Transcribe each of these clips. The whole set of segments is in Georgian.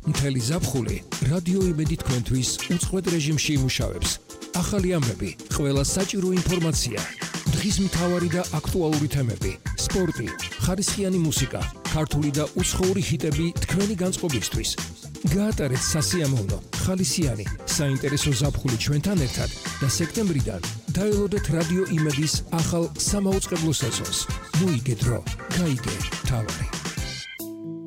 მთელი ზაფხული რადიო იმედი თქვენთვის უწყვეტ რეჟიმში იმუშავებს. ახალი ამბები, ყველა საჭირო ინფორმაცია, დღის მთავარი და აქტუალური თემები, სპორტი, ხარისხიანი მუსიკა, ქართული და უცხოური ჰიტები თქვენი განწყობისთვის. გაატარეთ სასიამოვნო, ხალისიანი, საინტერესო ზაფხული ჩვენთან ერთად და სექტემბრიდან დაელოდეთ რადიო იმედის ახალ სამაუწყებლო სეზონს. მოიგე დრო, გაიგე თავარი.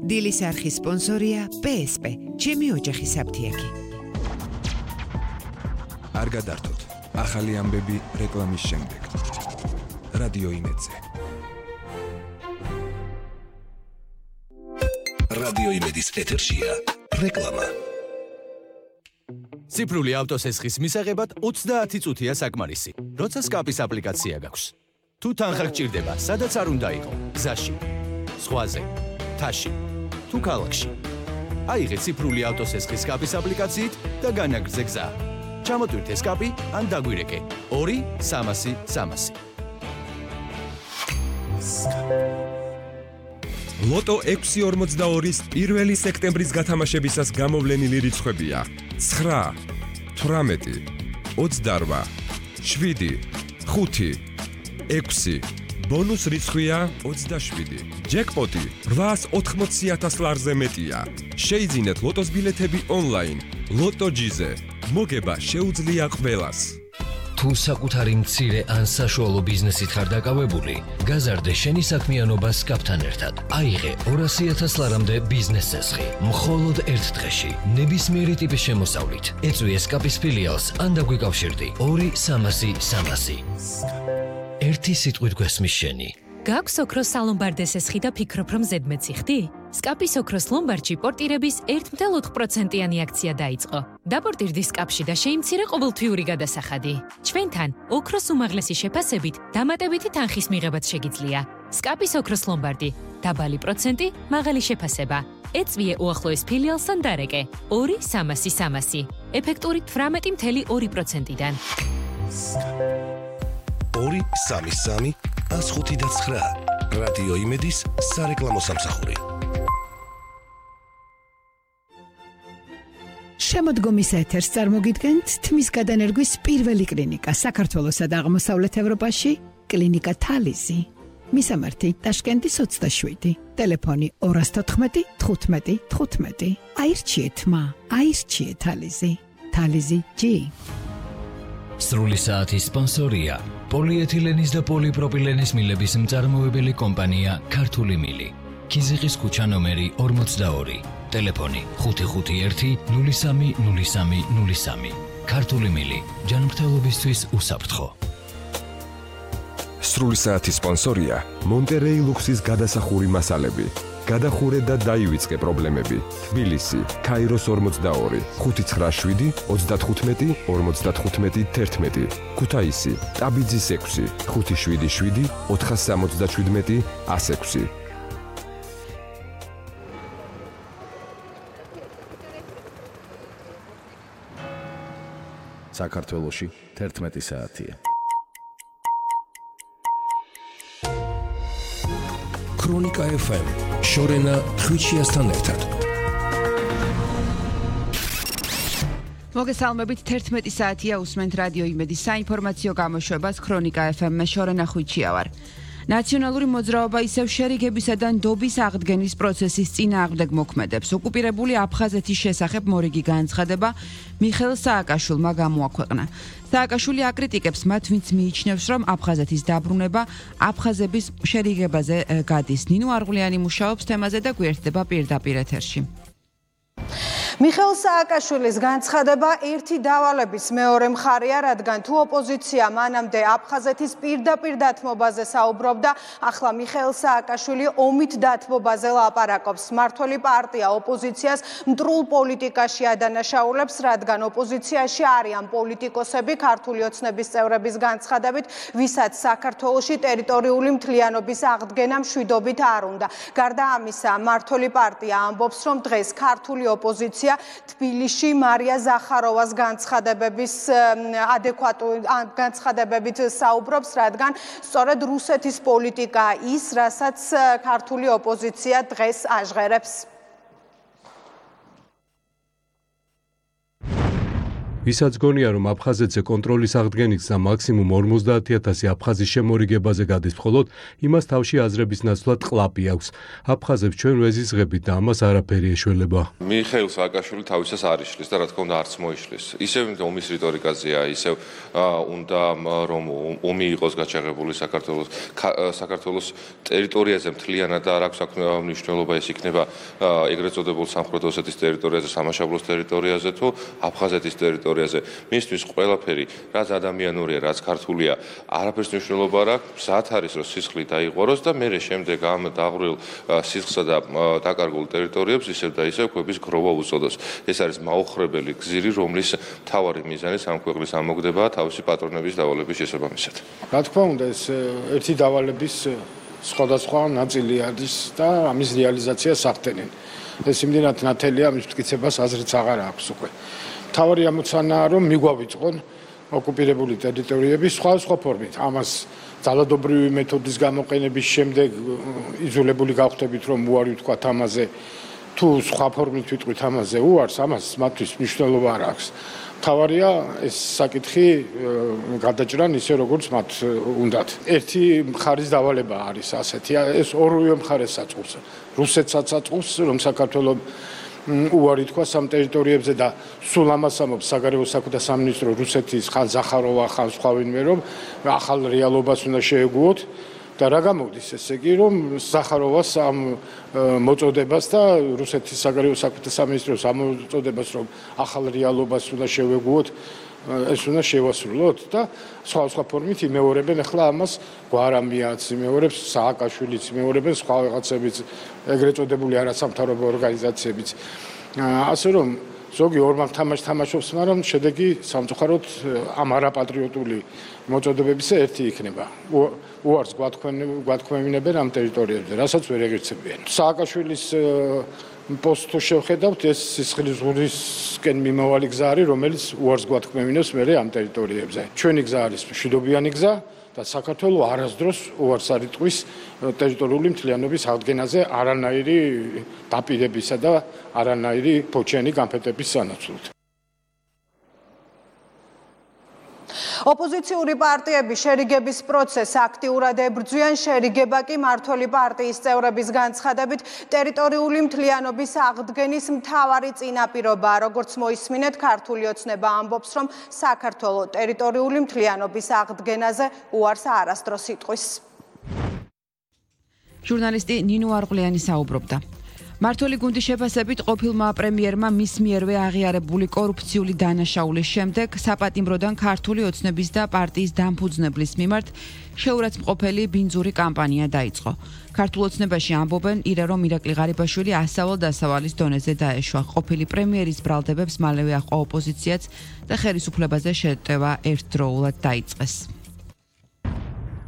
დილის არხის სპონსორია PSP, ჩემი ოჯახის საფთიაქი. არ გადართოთ, ახალი ამბები რეკლამის შემდეგ. რადიო იმედზე. რადიო იმედის ეთერშია რეკლამა. ციფრული ავტოსესხის მისაღებად 30 წუთია საკმარისი, როცა სკაპის აპლიკაცია გაქვს. თუ თანხა გჭირდება, სადაც არ უნდა იყო, გზაში, ზღვაზე, თაში, თუ ქალაქში. აიღე ციფრული ავტოსესხის სკაპის აპლიკაციით და განაგრძე გზა. ჩამოტვირთე სკაპი ან დაგვირეკე 2-300-300. ლოტო 642-ის 1 სექტემბრის გათამაშებისას გამოვლენილი რიცხვებია 9, 18, 28, 7, 5, 6. ბონუს რიცხვია 27. ჯეკპოტი 880,000 ლარზე მეტია. შეიძინეთ ლოტოს ბილეთები ონლაინ. ლოტოჯიზე. მოგება შეუძლია ყველას. თუ საკუთარი მცირე ან საშუალო ბიზნესით ხარ დაკავებული, გაზარდე შენი საქმიანობა სკაპთან ერთად. აიღე 200,000 ლარამდე ბიზნეს წესხი, მხოლოდ ერთ დღეში, ნებისმიერი ტიპის შემოსავლით. ეწვიე სკაპის ფილიალს ან დაგვიკავშირდი 2-300-300. ერთი სიტყვით გვესმის შენი. გაქვს ოქროს სალომბარდე სესხი და ფიქრობ, რომ ზედმეტი ხდი? სკაპის ოქროს ლომბარდში პორტირების 1.4%-იანი აქცია დაიწყო. დაპორტირდი სკაპში და შეიმცირე ყოველთვიური გადასახადი. ჩვენთან ოქროს უმაღლესი შეფასებით დამატებითი თანხის მიღებაც შეგიძლია. სკაპის ოქროს ლომბარდი, დაბალი პროცენტი, მაღალი შეფასება. ეწვიე უახლოეს ფილიალს ან დარეკე 2-300-300. ეფექტური 18.2%-დან. 2-3-3-105-9 რადიო იმედის სარეკლამო სამსახური. შემოდგომის ეთერს წარმოგიდგენთ თმის გადანერგვის პირველი კლინიკა საქართველოსა და აღმოსავლეთ ევროპაში, კლინიკა თალიზი. მისამართი ტაშკენტის 27, ტელეფონი 214 15 15. აირჩიეთ მა, აირჩიეთ თალიზი. თალიზი G. სრული საათის სპონსორია პოლიეთილენის და პოლიპროპილენის მილების მწარმოებელი კომპანია ქართული მილი. ქიზიყის ქუჩა ნომერი 42, ტელეფონი 551-030303. ქართული მილი, ჯანმრთელობისთვის უსაფრთხო. სრული საათის სპონსორია მონტერეი ლუქსის გადასახური მასალები. გადახურე და დაივიწყე პრობლემები. თბილისი, ქაიროს 42, 597 35 55 11. ქუთაისი, ტაბიძის 6, 577 477 106. საქართველოში 11 საათია. ქრონიკა FM, შორენა ხვიჩიასთან ერთად. მოგესალმებით, 11 საათია, უსმენთ რადიო იმედის საინფორმაციო გამოშვებას ქრონიკა FM-მე, შორენა ხვიჩია ვარ. ნაციონალური მოძრაობა ისევ შერიგებისა და ნდობის აღდგენის პროცესის წინააღმდეგ მოქმედებს. ოკუპირებული აფხაზეთის შესახებ მორიგი განცხადება მიხეილ სააკაშვილმა გამოაქვეყნა. სააკაშვილი აკრიტიკებს მათ, ვინც მიიჩნევს, რომ აფხაზეთის დაბრუნება აფხაზების შერიგებაზე გადის. ნინო არღულიანი მუშაობს თემაზე და გვერდება პირდაპირ ეთერში. მიხეილ სააკაშვილის განცხადება ერთი დავალების მეორე მხარეა, რადგან თუ ოპოზიცია მანამდე აფხაზეთის პირდაპირ დათმობაზე საუბრობდა, ახლა მიხეილ სააკაშვილი ომით დათმობაზე ლაპარაკობს. მმართველი პარტია ოპოზიციას მტრულ პოლიტიკაში ადანაშაულებს, რადგან ოპოზიციაში არიან პოლიტიკოსები, ქართული ოცნების წევრების განცხადებით, ვისაც საქართველოში ტერიტორიული მთლიანობის აღდგენა მშვიდობით არ უნდა. გარდა ამისა, მმართველი პარტია ამბობს, რომ დღეს ქართული ოპოზიცია თბილისში მარია ზახაროვას განცხადებებით საუბრობს, რადგან სწორედ რუსეთის პოლიტიკა ის, რასაც ქართული ოპოზიცია დღეს აჟღერებს. ვისაც გონია, რომ აფხაზეთზე კონტროლის აღდგენით და მაქსიმუმ 50,000 აფხაზის შემორიგებაზე გადის მხოლოდ, იმას თავში აზრების ნაცვლად ყლაპი აქვს. აფხაზებს ჩვენ ვეზიზღებით და ამას არაფერი ეშველება. მიხეილ სააკაშვილი თავისას არ იშლის და რა თქმა უნდა არც მოიშლის. ისევ ომის რიტორიკაზეა, ისევ უნდა რომ ომი იყოს გაჩაღებული საქართველოს ტერიტორიაზე მთლიანად და არ აქვს მნიშვნელობა ეს იქნება ეგრეთ წოდებულ სამხრეთ ოსეთის ტერიტორიაზე, სამაშაბლოს ტერიტორიაზე თუ აფხაზეთის ტერიტორიაზე. მისთვის ყველაფერი, რაც ადამიანურია, რაც ქართულია, არაფერს მნიშვნელობა არ აქვს. მზად არის რომ სისხლი დაიღვაროს და მერე შემდეგ ამ დაღვრილ სისხლსა და დაკარგულ ტერიტორიებს ისევ და ისევ კვების გროვა უწოდოს. ეს არის მაუხრებელი გზირი, რომლის მთავარი მიზანი ამ ქვეყნის ამოგდებაა თავისი პატრონების დავალების შესაბამისად. რა თქმა უნდა, ეს ერთი დავალების სხვადასხვა ნაწილი არის და ამის რეალიზაციას ახდენენ. ეს იმდენად ნათელია, ამის მტკიცებას აზრიც აღარ აქვს უკვე. მთავარი ამოცანაა, რომ მიგვავიწყონ ოკუპირებული ტერიტორიების სხვადასხვა ფორმით. ამას ძალადობრივი მეთოდის გამოყენების შემდეგ იზოლებული გავხდებით, რომ უარი ვთქვათ ამაზე, თუ სხვა ფორმით ვიტყვით ამაზე უარს, ამას მათთვის მნიშვნელობა არ აქვს. მთავარია ეს საკითხი გადაჭრან ისე როგორც მათ უნდათ. ერთი მხარის დავალება არის ასეთი, ეს ორივე მხარეს საწყობს. რუსეთსაც საწყობს, რომ საქართველოს უარი თქვა სამ ტერიტორიებზე და სულ ამას ამბობს საგარეო საქმეთა სამინისტრო რუსეთის ხან ზახაროვა ხან სხვა ვინმე რომ ახალ რეალობას უნდა შეეგუოთ და რა გამოდის ესე იგი რომ ზახაროვას ამ მოწოდებას და რუსეთის საგარეო საქმეთა სამინისტროს ამ მოწოდებას რომ ახალ რეალობას უნდა შევეგუოთ ეს უნდა შევასრულოთ და სხვა ფორმით იმეორებენ ახლა ამას გვარამიაც იმეორებს სააკაშვილიც იმეორებენ სხვა რაღაცებიც ეგრეთ წოდებული არასამთავრობო ორგანიზაციებიც ასე რომ ზოგი ორმაგ თამაშობს მაგრამ შედეგი სამწუხაროდ ამ არაპატრიოტული მოწოდებებისა ერთი იქნება უარს გვათქმევინებენ ამ ტერიტორიებზე რასაც ვერ ეგერცებიან სააკაშვილის პოსტს შევხედავთ ეს სისხლის ზღურისკენ მიმავალი გზა არის რომელიც უარს გვათქმევინებს მერე ამ ტერიტორიებზე ჩვენი გზა არის მშვიდობიანი გზა და საქართველოს არასდროს უარს არ იტყვის ტერიტორიული მთლიანობის აღდგენაზე არანაირი დაპირებისა და არანაირი ფოჩენი განფეთების სანაცვლოდ ოპოზიციური პარტიები შერიგების პროცესს აქტიურად ებრძვიან, შერიგება კი მმართველი პარტიის წევრების განცხადებით ტერიტორიული მთლიანობის აღდგენის მთავარი წინაპირობაა. როგორც მოისმინეთ, ქართული ოცნება ამბობს, რომ საქართველოს ტერიტორიული მთლიანობის აღდგენაზე უარს არასდროს იტყვის. ჟურნალისტი ნინო არღლიანი საუბრობდა. მმართველი გუნდის შეფასებით ყოფილმა პრემიერმა მის მიერვე აღიარებული კორუფციული დანაშაულის შემდეგ საპატიმროდან ქართული ოცნების და პარტიის დამფუძნებლის მიმართ შეურაცხმყოფელი ბინძური კამპანია დაიწყო. ქართულ ოცნებაში ამბობენ, რომ ირაკლი ღარიბაშვილი ასავალ-დასავალის დონეზე დაეშვა. ყოფილი პრემიერის ბრალდებებს მალევე აჰყვა ოპოზიციაც და ხელისუფლებაზე შეტევა ერთდროულად დაიწყეს.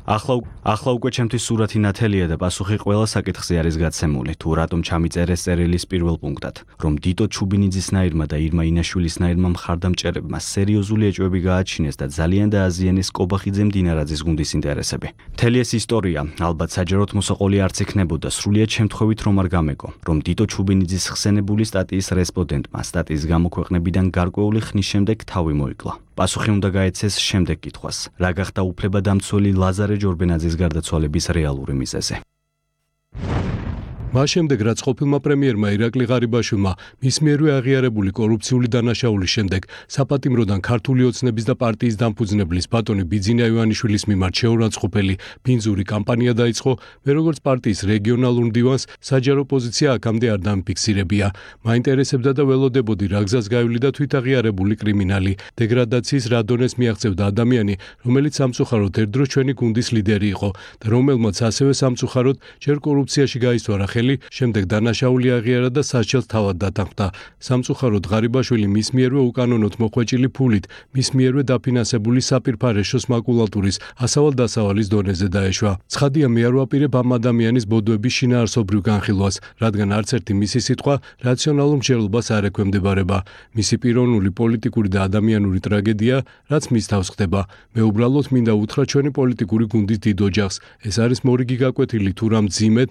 ახლა უკვე ჩემთვის სურათი ნათელია და პასუხი ყველა საკითხზე არის გაცემული. თუ რატომ ჩამიწერეს წერილის პირველ პუნქტად, რომ დიტო ჩუბინიძისნაირმა და ირმა ინაშვილისნაირმა მხარდამჭერებმა სერიოზული ეჭვები გააჩინეს და ძალიან დააზიანეს კობახიძე მდინარაძის გუნდის ინტერესები. მთელი ეს ისტორია ალბათ საჯაროდ მოსაყოლი არც იქნებოდა სრულიად შემთხვევით რომ არ გამეკო, რომ დიტო ჩუბინიძის ხსენებული სტატიის რესპონდენტმა სტატიის გამოქვეყნებიდან გარკვეული ხნის შემდეგ თავი მოიკლა. პასუხი უნდა გაეცეს შემდეგ კითხვას, რა გახდა უფლებადამცველი ლაზარე ჯორბენაძის გარდაცვალების რეალური მიზეზი. მას შემდეგ რაც ყოფილმა პრემიერმა ირაკლი ღარიბაშვილმა მის მიერვე აღიარებული კორუფციული დანაშაულის შემდეგ საპატიმროდან ქართული ოცნების და პარტიის დამფუძნებლის ბატონი ბიძინა ივანიშვილის მიმართ შეურაცხმყოფელი ბინძური კამპანია დაიწყო, მე როგორც პარტიის რეგიონალურ მდივანს საჯარო პოზიცია აქამდე არ დამფიქსირებია. მაინტერესებდა და ველოდებოდი რა გზას გაივლიდა თვითაღიარებული კრიმინალი, დეგრადაციის რა დონეს მიაღწევდა ადამიანი, რომელიც სამწუხაროდ ერთდროს ჩვენი გუნდის ლიდერი იყო და რომელმაც ასევე სამწუხაროდ ჯერ კორუფციაში გაისვარა ხელი, შემდეგ დანაშაული აღიარა და სასჯელს თავად დათანხმდა. სამწუხაროდ ღარიბაშვილი მის მიერვე უკანონოდ მოხვეჭილი ფულით, მის მიერვე დაფინანსებული საპირფარეშოს მაკულატურის ასავალ-დასავალის დონეზე დაეშვა. ცხადია, მე არ ვაპირებ ამ ადამიანის ბოდოების შინაარსობრივ განხილვას, რადგან არც ერთი მისი სიტყვა რაციონალურ მსჯელობას არ ექვემდებარება. მისი პიროვნული, პოლიტიკური და ადამიანური ტრაგედია, რაც მის თავს ხდება. მე უბრალოდ მინდა უთხრა ჩვენი პოლიტიკური გუნდის დიდ ოჯახს, ეს არის მორიგი გაკვეთილი თუ რა მძიმედ